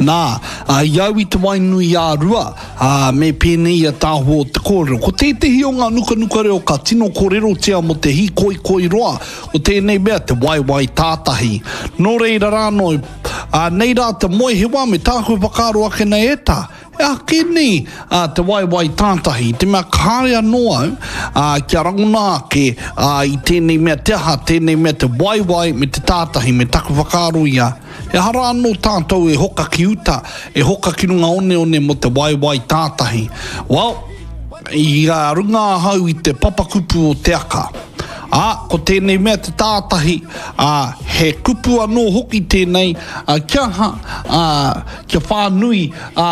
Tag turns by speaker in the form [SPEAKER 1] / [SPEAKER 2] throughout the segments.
[SPEAKER 1] Nā, ā, i au i te Wainui-ā-Rua, ā, me pēnei ia tāhua o te kōrero. Ko tētehi o ngā nukanuka reo ka tino kōrerotia mō te hīkoikoi roa, ko tēnei mea te waewae tātahi. Nō reira rā anō, ā, nei rā te moehewa me tāku whakaaro ake nei e tā, he aha kē nei, ā, te waewae tātahi, i te mea kāre anō au, ā, kia rangona ake, ā, i tēnei mea te aha, tēnei mea te waewae me te tātahi, me taku whakaaro ia. He aha rā anō tātou e hoka ki uta, e hoka ki runga oneone mō te waewae tātahi? Well, i runga ahau i te papakupu o Te Aka. Ā, ko tēnei mea te tātahi, ā, he kupu anō hoki tēnei, ā, kia aha, ā, kia whānui, ā,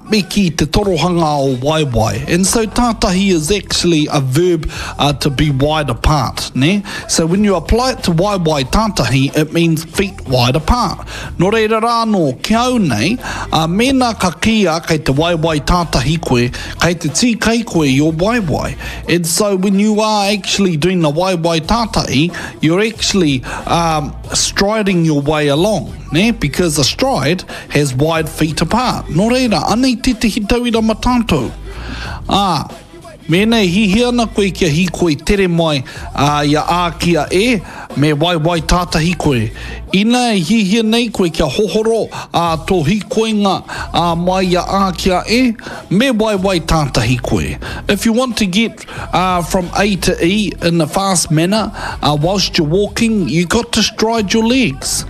[SPEAKER 1] me kī te torohanga o waewae. And so tātahi is actually a verb uh, to be wide apart, nē? So when you apply it to waewae tātahi, it means feet wide apart. Nō reira rā anō, ki au nei, ā, mēnā ka kīia kei te waewae tātahi koe, kei te tīkai koe i ō waewae. And so when you are actually doing the waewae tātahi, you're actually um, striding your way along, nē? Because a stride has wide feet apart. Nō reira, anei tētehi tauira ma tātou. Ā, Mēnā e hihia ana koe kia hīkoi tere mai ā, i a A ki a E, me waewae tātahi koe. Ina e hihia nei koe kia hohoro ā, tō hīkoinga ā, mai i a A ki a E, me waewae tātahi koe. If you want to get uh, from A to E in a fast manner uh, whilst you're walking, you got to stride your legs.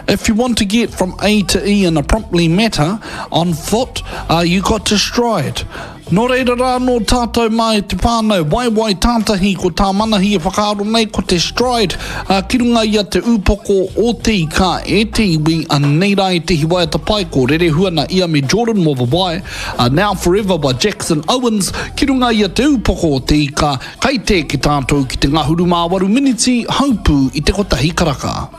[SPEAKER 1] If you want to get from A to E in a promptly matter on foot, uh, you got to stride. Nō reira rā anō tātou mā e te whānau, waewae tātahi ko tā Manahi e whakaaro nei ko te stride ā, ki runga i a Te Ūpoko o Te Ika e te iwi, anei rā ētehi waiata pai ko Rerehua na ia me Jordan Mowawai, ā, Now Forever by Jackson Owens, ki runga i a Te Ūpoko o Te Ika, kai te eke tātou ki te ngahuru mā waru miniti, haupū i te kotahi karaka.